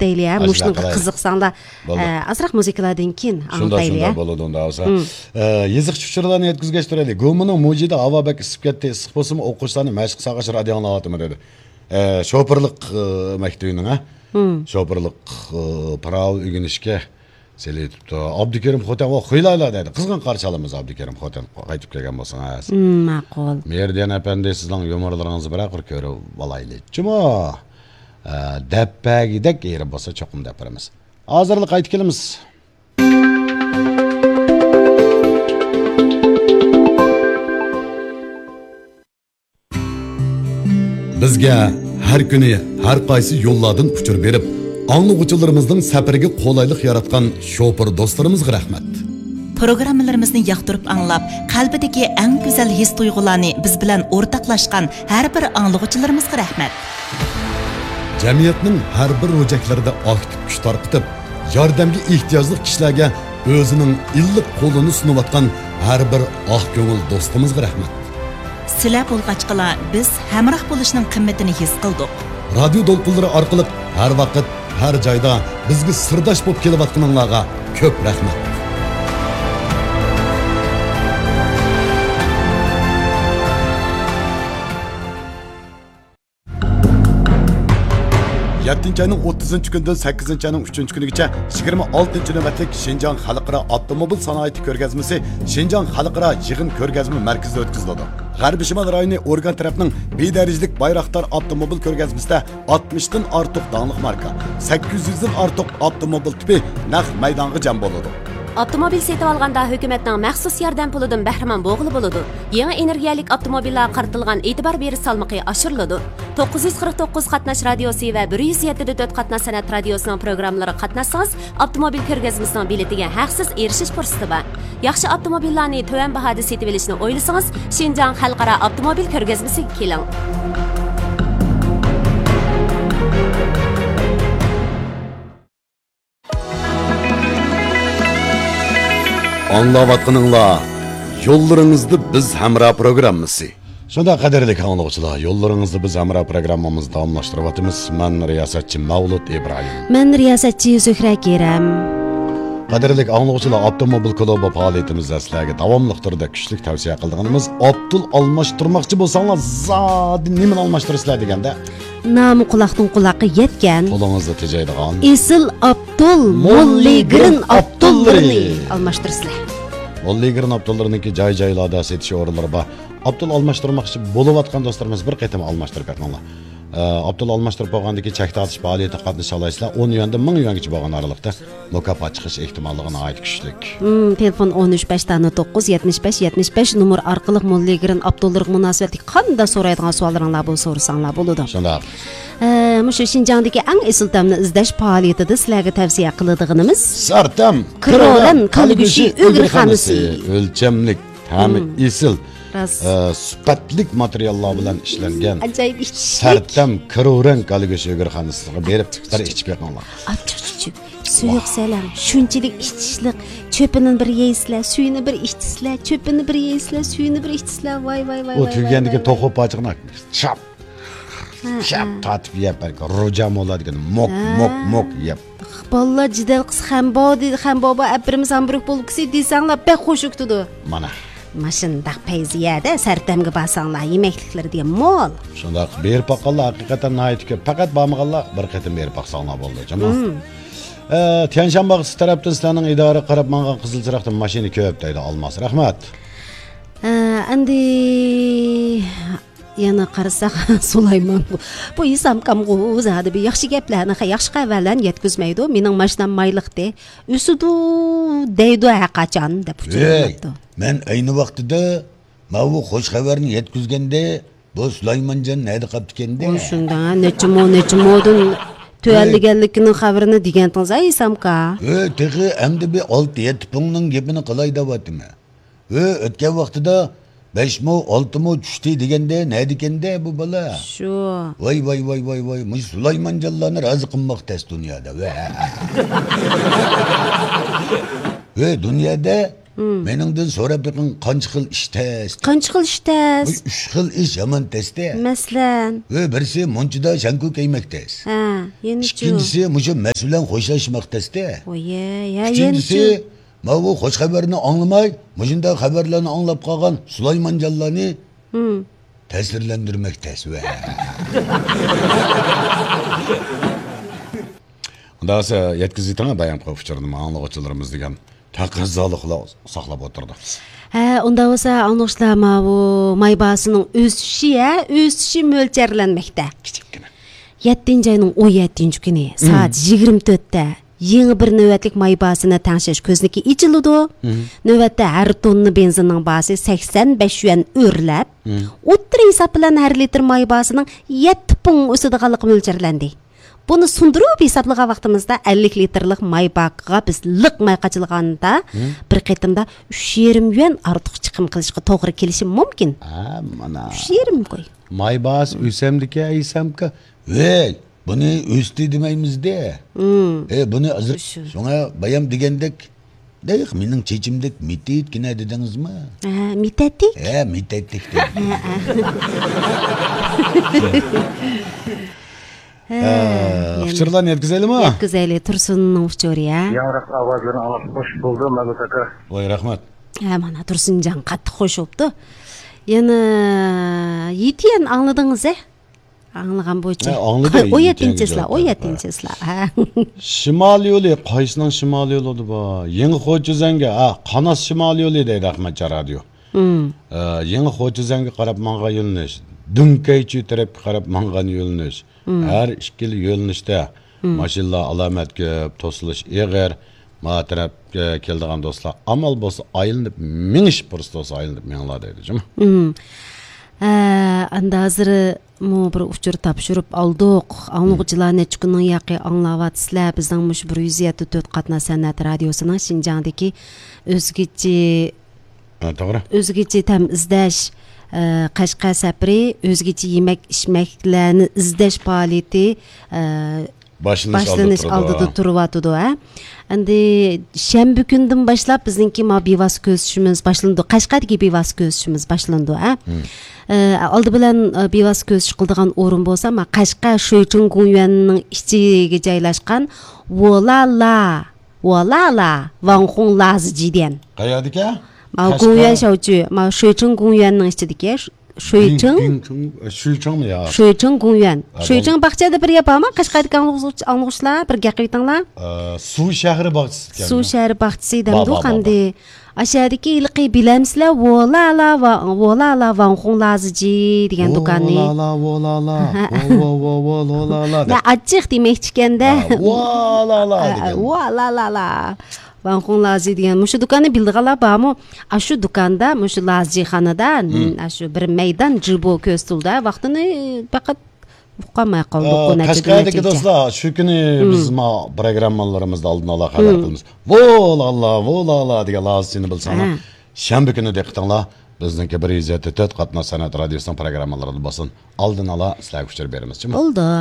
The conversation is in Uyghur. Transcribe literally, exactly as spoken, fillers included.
كۈتەيلى، ھە؟ مۇشۇنىڭغا قىزىقساڭلار، بولىدۇ. ئە، ئازراق مۇزىكىلادىن كېيىن ئاڭلىتايلى، ھە؟ شۇنداق بولىدۇ، ئۇنداق بولسا. ئە، يېزىقچى ئۇچۇرلارنى يەتكۈزگەچ تۇرايلى. گۇمىنىڭ مۇجىدا ھاۋا بەك ئىسسىپ كەتتى. ئىسسىق بولسىمۇ، ئوقۇغۇچىلارنى مەشىق سالغاچ رادىيو ئاڭلاۋاتىمەن دېدى. ئە، شوپۇرلۇق، ئە، مەكتىپىنىڭ، ھە؟ شوپۇرلۇق، ئە، پىراۋا ئۆگىنىشكە سېلىۋېتىپتۇ. ئابدۇكېرىم خوتەن، ۋا خۇيلايلا دەيدۇ. قىزغىن قارشى ئالىمىز ئابدۇكېرىم خوتەن، قايتىپ كەلگەن بولسىڭىز. مم، ماقۇل. مېھرىدىيان ئەپەندى، سىزنىڭ يۇمۇرلىرىڭىزنى بىرەر قۇر كۆرۈپ ئالايلى. جۇمۇ، ئە، دەپپەگىدەك ئېرى بولسا چوقۇم دەپ بېرىمىز. ھازىرلا قايتىپ كېلىمىز. بىزگە ھەر كۈنى ھەر قايسى يوللاردىن ئۇچۇر بېرىپ، ئاڭلىغۇچىلىرىمىزنىڭ سەپىرىگە قولايلىق ياراتقان شوپۇر دوستلىرىمىزغا رەھمەت. پروگراممىلىرىمىزنى ياقتۇرۇپ ئاڭلاپ، قەلبىدىكى ئەڭ گۈزەل ھېس-تۇيغۇلارنى بىز بىلەن ئورتاقلاشقان ھەر بىر ئاڭلىغۇچىلىرىمىزغا رەھمەت. جەمئىيەتنىڭ ھەر بىر روجەكلىرىدە ئاكتىپ كۈچ تارقىتىپ، ياردەمگە ئېھتىياجلىق كىشىلەرگە ئۆزىنىڭ ئىللىق قولىنى سۇنۇۋاتقان ھەر بىر ئاق كۆڭۈل دوستىمىزغا رەھمەت. سىلەر بولغاچقىلا، بىز ھەمراھ بولۇشنىڭ قىممىتىنى ھېس قىلدۇق. رادىيو دولقۇنلىرى ئارقىلىق ھەر ۋاقىت، ھەر جايدا بىزگە سىرداش بولۇپ كېلىۋاتقىنىڭلارغا كۆپ رەھمەت. يەتتىنچى ئاينىڭ ئوتتۇزىنچى كۈنىدىن سەككىزىنچى ئاينىڭ ئۈچىنچى كۈنىگىچە يىگىرمە ئالتىنچى نۆۋەتلىك شىنجاڭ خەلقئارا ئاپتوموبىل سانائىتى كۆرگەزمىسى شىنجاڭ خەلقئارا يىغىن كۆرگەزمە مەركىزىدە ئۆتكۈزۈلىدۇ. غەربىي شىمال رايونى ئورگان تەرەپنىڭ بىر دەرىجىلىك بايراقدار ئاپتوموبىل كۆرگەزمىسىدە ئاتمىشتىن ئارتۇق داڭلىق ماركا، سەككىز يۈزدىن ئارتۇق ئاپتوموبىل تىپى نەق مەيدانغا جەم بولىدۇ. ئاپتوموبىل سېتىۋالغاندا ھۆكۈمەتنىڭ مەخسۇس ياردەم پۇلىدىن بەھرىمەن بولغىلى بولىدۇ. يېڭى ئېنېرگىيەلىك ئاپتوموبىللارغا قارىتىلغان ئېتىبار بېرىش سالمىقى ئاشۇرۇلىدۇ. توققۇز يۈز قىرىق توققۇز قاتناش رادىيوسى ۋە بىر يۈز يەتتە دە تۆت قاتناش سەنئەت رادىيوسىنىڭ پروگراممىلىرىغا قاتناشسىڭىز، ئاپتوموبىل كۆرگەزمىسىنىڭ بېلىتىگە ھەقسىز ئېرىشىش پۇرسىتى بار. ياخشى ئاپتوموبىللارنى تۆۋەن باھادا سېتىۋېلىشنى ئويلىسىڭىز، شىنجاڭ خەلقئارا ئاپتوموبىل كۆرگەزمىسىگە كېلىڭ. ئاڭلاۋاتقىنىڭلار يوللىرىڭىزدا بىز ھەمراھ پروگراممىسى. شۇنداق، قەدىرلىك ئاڭلىغۇچىلار، يوللىرىڭىزدا بىز ھەمراھ پروگراممىمىزنى داۋاملاشتۇرۇۋاتىمىز. مەن رىياسەتچى مەۋلۇت ئىبراھىم. مەن رىياسەتچى زۆھرە كېرەم. قەدىرلىك ئاڭلىغۇچىلار، ئاپتوموبىل كۇلۇبى پائالىيىتىمىزدە سىلەرگە داۋاملىق تۈردە كۈچلۈك تەۋسىيە قىلىدىغىنىمىز، ئاپتول ئالماشتۇرماقچى بولساڭلار، زادى نېمىنى ئالماشتۇرىسىلەر دېگەندە، نامى قۇلاقتىن قۇلاققا يەتكەن، قولىڭىزدا تېجەيدىغان ئېسىل ئاپتول موللىگرىن ئاپتوللىرىنى ئالماشتۇرىسىلەر. موللىگرىن ئاپتوللىرىنىڭكى جاي-جايلاردا سېتىش ئورۇنلىرى بار. ئاپتول ئالماشتۇرماقچى بولۇۋاتقان دوستلىرىمىز بىر قېتىم ئالماشتۇرۇپ بېقىڭلار. ئە، ئاپتول ئالماشتۇرۇپ بولغاندىن كېيىن چەك تارتىش پائالىيىتىگە قاتنىشالايسىلەر. ئون يۈەندىن مىڭ يۈەنگىچە بولغان ئارىلىقتا مۇكاپات چىقىش ئېھتىماللىقى ناھايىتى كۈچلۈك. مم، تېلېفون ئون ئۈچ بەش دانە توققۇز، يەتمىش بەش، يەتمىش بەش نومۇر ئارقىلىق موللىگرىن ئاپتوللىرىغا مۇناسىۋەتلىك قانداق سورايدىغان سوئاللىرىڭلار بولسا سورىساڭلار بولىدۇ. شۇنداق. ئە، مۇشۇ شىنجاڭدىكى ئەڭ ئېسىل تەمنى ئىزدەش پائالىيىتىدە سىلەرگە تەۋسىيە قىلىدىغىنىمىز سەرتەم كرورەن كالا گۆشى ئۆگرىخانىسى. ئۆلچەملىك، تەمى ئېسىل، راست. ئە، سۈپەتلىك ماتېرىياللار بىلەن ئىشلەنگەن ئاجايىپ ئىچىشلىك سەرتەم كرورەن كالا گۆشى ئۆگرىخانىسىغا بېرىپ بىر ئىچىپ بېقىڭلار. ئاچچىق چۈچۈك، سۇيۇق سەلەڭ، شۇنچىلىك ئىچىشلىق. چۆپىنى بىر يەيسىلەر، سۈيىنى بىر ئىچىسىلەر، چۆپىنى بىر يەيسىلەر، سۈيىنى بىر ئىچىسىلەر. ۋاي، ۋاي، ۋاي، ئۇ ۋاي، تۈگىگەندىكى ۋاي، ۋاي. توخۇ پاچىقىنى شاپ، ھە، شاپ ھە. تارتىپ يەپ، روجا مولا دېگەن موك، ھە. موك، موك يەپ. بالىلار جېدەل قىلسا، خەنبو دېدى، خەنبو بار، ئەپىرىمىز ھامبۇرگ بولكىسى دېسەڭلار، بەك خۇش كۈتىدۇ. مانا. ماشۇنداق پەيزىيەدە سەرتەمگە بارساڭلار، يېمەكلىكلىرى دېگەن مول. شۇنداق، بېرىپ باققانلار ھەقىقەتەن ناھايىتى كۆپ. پەقەت بارمىغانلار بىر قېتىم بېرىپ باقساڭلار بولىدۇ، جۇمۇ. مم. ئە، تيەنشان باغچىسى تەرەپتىن سىلەرنىڭ ئىدارە قىلىپ ماڭغان قىزىل چىراغدىن ماشىنا كۆپ دەيدۇ ئالماس. رەھمەت. ئە، ئەمدى يەنە قارىساق، سۇلايمان بۇ، بۇ ھېسامكامغۇ زادى بىر ياخشى گەپلەرنى، ياخشى خەۋەرلەرنى يەتكۈزمەيدۇ. مېنىڭ ماشىنام مايلىقتى، ئۆسىدۇ دەيدۇ ھەرقاچان دەپ ئۇچۇر بېرىپتۇ. مەن ئەينى ۋاقتىدا ماۋۇ خوش خەۋەرنى يەتكۈزگەندە، بۇ سۇلايمانجان نەدە قاپتىكەندە؟ ئۇ شۇنداق، نەچچە مو، نەچچە مودىن تۆۋەنلىگەنلىكىنىڭ خەۋىرىنى دېگەنتىڭىز ھە، ھېسامكا؟ ھۆ، تېخى ئەمدى بىر ئالتە يەتتە پۇڭنىڭ گېپىنى قىلاي دەۋاتىمەن. ھۆ، ئۆتكەن ۋاقتىدا بەش مو، ئالتە مو چۈشتى دېگەندە، نەدىكەندە بۇ بالا؟ شۇ. ۋاي، ۋاي، ۋاي، ۋاي، ۋاي، مۇشۇ سۇلايمانجانلارنى رازى قىلماق تەس دۇنيادا. ۋە. ھۆ، دۇنيادا مېنىڭدىن سوراپ بېقىڭ، قانچە خىل ئىش تەس؟ قانچە خىل ئىش تەس؟ ئۈچ خىل ئىش يامان تەستە. مەسىلەن؟ ۋە بىرسى مۇنچىدا شەڭكۇ كىيمەك تەس. ھە، يەنىچۇ؟ ئىككىنچىسى مۇشۇ مەس بىلەن خوشلاشماق تەستە. ئويە، يا، ئۈچىنچىسى، يەنىچۇ؟ ماۋۇ خوش خەۋەرنى ئاڭلىماي، مۇشۇنداق خەۋەرلەرنى ئاڭلاپ قالغان سۇلايمانجانلارنى تەسىرلەندۈرمەك تەس ۋە. ئۇنداق بولسا يەتكۈزۈۋېتىڭ بايامقى ئۇچۇرنى ئاڭلىغۇچىلىرىمىز دېگەن تەقەززالىقلار ساقلاپ ئولتۇردۇق. ھە، ئۇنداق بولسا ئاڭلىغۇچىلار، ماۋۇ ماي باھاسىنىڭ ئۆسۈشى، ھە، ئۆسۈشى مۆلچەرلەنمەكتە. كىچىككىنە. يەتتىنچى ئاينىڭ ئون يەتتىنچى كۈنى سائەت يىگىرمە تۆتتە يېڭى بىر نۆۋەتلىك ماي باھاسىنى تەڭشەش كۆزنىكى ئېچىلىدۇ. نۆۋەتتە ھەر توننا بېنزىننىڭ باھاسى سەكسەن بەش يۈەن ئۆرلەپ، ئوتتۇرا ھېساب بىلەن ھەر لىتىر ماي باھاسىنىڭ يەتتە پۇڭ ئۆسىدىغانلىقى مۆلچەرلەندى. بۇنى سۇندۇرۇپ ھېسابلىغان ۋاقتىمىزدا، ئەللىك لىتىرلىق ماي باكىغا بىز لىق ماي قاچىلىغاندا، بىر قېتىمدا ئۈچ يېرىم يۈەن ئارتۇق چىقىم قىلىشقا توغرا كېلىشى مۇمكىن. ھە، مانا. ئۈچ يېرىم قوي. ماي باھاسى ئۆسەمدىكى ئەيسەمكە؟ ۋەي، بۇنى ئۆستى دېمەيمىز-دە. ئە، بۇنى ھازىر شۇ. شۇڭا بايام دېگەندەك، دەيق، مېنىڭ چېچىمدەك مىتىتكىنە دېدىڭىزمۇ؟ ھە، مىتەتتىك؟ ھە، مىتەتتىك دېدىم. ھە، ھە. ھە، ھە، يەنە ئۇچۇرلارنى يەتكۈزەيلىمۇ؟ يەتكۈزەيلى، تۇرسۇننىڭ ئۇچۇرى، ھە؟ ياڭراق ئاۋازلىرىنى ئاڭلاپ خوش بولدۇم، مەمەت ئاكا. ۋاي، رەھمەت. ھە، مانا تۇرسۇنجان قاتتىق خوش بوپتۇ. يەنە يىتىيەن ئاڭلىدىڭىز، ھە؟ ئاڭلىغان بويىچە. ھە، ئاڭلىدى، ئون يەتتىنچى يىتىنچى چىسلا، ئون يەتتىنچى چىسلا. ھە. شىمال يولى، قايسىنىڭ شىمال يولىدا بار؟ يېڭى خوچىزەڭگە، ھە، قاناس شىمال يولى دەيدۇ ئەخمەتجان رادىيو. ئە، يېڭى خوچىزەڭگە قاراپ ماڭغان يۆنىلىش، دۈڭكەيچى تەرەپكە قاراپ ماڭغان يۆنىلىش. ھەر ئىككىلا يۆنىلىشتە ماشىنىلار ئالامەت كۆپ، توسۇلۇش ئېغىر. ما تەرەپكە كېلىدىغان دوستلار ئامال بولسا ئايلىنىپ مېڭىش پۇرسىتى بولسا ئايلىنىپ مېڭىڭلار دەيدۇ، جۇمۇ. ھە، ئەمدى ھازىرمۇ بىر ئۇچۇر تاپشۇرۇپ ئالدۇق. ئاڭلىغۇچىلار نەچچە كۈننىڭ ياقى ئاڭلاۋاتىسىلەر. بىزنىڭ مۇشۇ بىر يۈز يەتتە تۆت قاتناش سەنئەت رادىيوسىنىڭ شىنجاڭدىكى ئۆزگىچە، ھە، توغرا. ئۆزگىچە تەم ئىزدەش، ئە، قەشقەر سەپىرى، ئۆزگىچە يېمەك ئىچمەكلەرنى ئىزدەش پائالىيىتى، ئە، باشلىنىش باشلىنىش ئالدىدا تۇرىدۇ. ئالدىدا تۇرۇۋاتىدۇ، ھە. ئەمدى شەنبە كۈندىن باشلاپ بىزنىڭكى ما بىۋاسىتە كۆزىتىشىمىز باشلىنىدۇ. قەشقەردىكى بىۋاسىتە كۆزىتىشىمىز باشلىنىدۇ، ھە. ئە، ئالدى بىلەن، ئە، بىۋاسىتە كۆزىتىش قىلىدىغان ئورۇن بولسا، ما قەشقەر شۇيچىڭ گۇڭيۈەننىڭ ئىچىگە جايلاشقان ۋولالا، ۋولالا، ۋاڭخۇڭ لازىجى دېگەن. قەيەردىكى؟ ما قەشقەر؟ گۇڭيۈەن شاۋچۈ، ما شۇيچىڭ گۇڭيۈەننىڭ ئىچىدىكى. شۇيچىڭ؟ بىڭ-، بىڭ-، شۇيچىڭمۇ يا؟ شۇيچىڭ گۇڭيۈەن. ھە، شۇيچىڭ باغچە دەپ بىر يەر بارمۇ؟ قەشقەردىكى ئاڭلىغۇچ-، ئاڭلىغۇچىلار بىر گەپ قىلىۋېتىڭلار. ئە، سۇ شەھىرى باغچىسى ئىكەن. سۇ شەھىرى باغچىسى دەمدۇ قاندى؟ ئاشۇ يەردىكى ھېلىقى بىلەمسىلەر؟ ۋولالا ۋا-، ۋولالا ۋاڭخۇڭ لازىجى دېگەن دۇكاننى. ۋولالا، ۋولالا، ۋو، ۋو، ۋو، ۋو، ۋولالا دەپ. مەن ئاچچىق دېمەكچى ئىكەندە. ھە، ۋولالا ھە، دېگەن. ۋولالالا. ۋاڭخۇڭ لازى دېگەن مۇشۇ دۇكاننى بىلىدىغانلار بارمۇ؟ ئاشۇ دۇكاندا، مۇشۇ لازىخانىدا، ئاشۇ بىر مەيدان جىبو كۆرسىتىلدى. ۋاقتىنى پەقەت ئۇقالماي قالدۇق. ئە، بۇ نەچچە كۈن، قەشقەردىكى نەچچە كۈن. دوستلار، شۇ كۈنى بىز ما پروگراممىلىرىمىزدا ئالدىن ئالا خەۋەر قىلىمىز. ۋولالا، ۋولالا دېگەن لازىچىنى بىلسەڭلار. ھە. شەنبە كۈنى دىققىتىڭلار، بىزنىڭكى بىر يۈز يەتتە تۆت قاتناش سەنئەت رادىيوسىنىڭ پروگراممىلىرىدا بولسۇن. ئالدىن ئالا سىلەرگە ئۇچۇر بېرىمىز، جۇمۇ. بولدى.